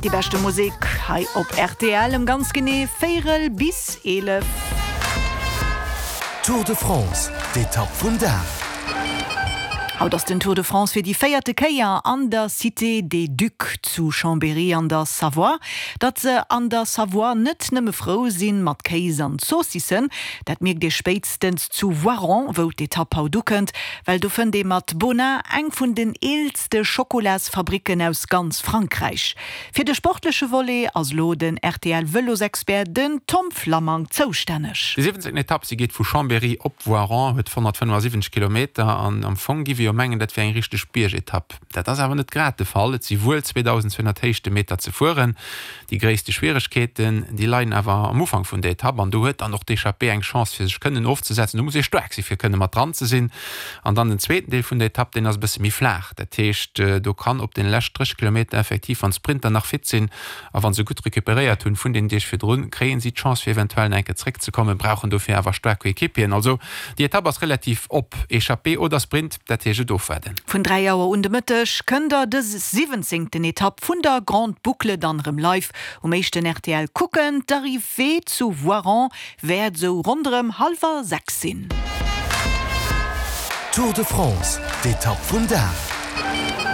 Déi beschte Musek hei op rtl ëm ganz genee véierel bis 11. Tour de France, d'Etapp vum Dag. Haut ass den Tour de France fir déi véierte Kéier an der Cité des Ducs zu Chambéry an der Savoie. Datt se an der Savoie net nëmme frou sinn mat Kéis an Zoossissen, dat mierkt ee spéitstens zu Voiron, wou d'Etapp haut ukënnt. Well do fënnt ee mat Bonnat eng vun den eelste Schokolasfabricken aus ganz Frankräich. Fir de sportleche Volet ass lo den RTL-Vëlosexpert, den Tom Flammang, zoustänneg. Déi 17. Etapp, se geet vu Chambéry op Voiron, huet 175 Kilometer an am Fong giff ee jo mengen, dat wier eng richteg Biergetapp. Dat ass awer net grad de Fall, et si wuel 2.200 Héichtemeter ze fueren. Déi gréisste Schwieregkeeten, déi leien awer am Ufank vun der Etapp an do huet dann och d'Echappée eng Chance fir sech kënnen ofzesetzen. Do muss ee staark si fir kënne mat dran ze sinn. An dann den zweeten Deel vun der Etapp, deen ass e bësse méi flaach. Dat heescht, do kann op den lescht 30 Kilometer effektiv, wann d'Sprinter nach fit sinn a wa se gutt recuperéiert hunn vun den Deeg virdrun, kréien si d'Chance fir eventuell nach eng Kéier zréckzekommen, brauchen dofir awer staark Coéquipieren. Also déi Etapp ass relativ op, Echappée oder Sprint, dat heescht et ofwaarden. Vun 3 Auer un de Mëtteg kënnt der dës siwwenzéngten Etapp vun der Grande Boucle dann erëm live um éischten rtl kucken. D'Arrivée zu Voiron wäert esou ronderëm hallwer 6 sinn. Tour de France, d'Etapp vum Dag.